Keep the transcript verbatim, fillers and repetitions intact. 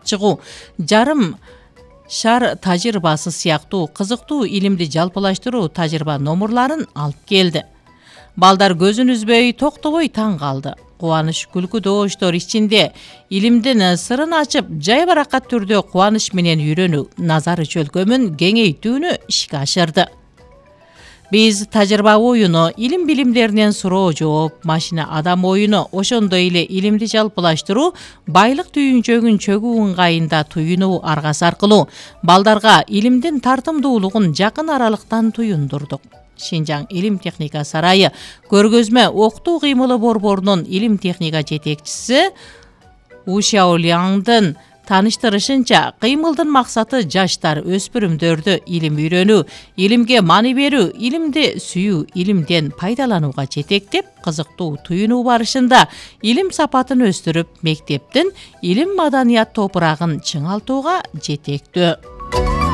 чыгуу, жарым шар тажрыйбасы сыяктуу кызыктуу илимди жалпылаштыруу тажрыйба номурларын алып келди. Балдар көзүн үзбөй, токтобой таң калды. Кубаныч күлкү добуштор ичинде илимдин сырын ачып, жайбаракат түрдө кубаныч менен үйрөнүү, назары чөлкөмүн кеңейтүүнү ишке ашырды. Биз тажрыйба оюну, илим билимдеринен суроо жооп, машина адам оюну, ошондой эле илимди жалпылаштыруу, байлык түйүнчөгүн чөгүү ыңгайында туюнуу аргасы аркылуу балдарга илимдин тартымдуулугун жакын аралыктан туюндурдук. Шинжаң илим техника сарайы көргөзмө окутуу кыймылы борборунун илим техника жетекчиси У Шаоляньдын таныштырышынча, кыймылдын максаты жаштар, өспүрүмдөрдү илим үйрөнүү, илимге маани берүү, илимди сүйүү, илимден пайдаланууга жетектеп, кызыктуу туюнуу барышында илим сапатын өстүрүп, мектептин илим маданият топурагын чыңалтууга жетектөө.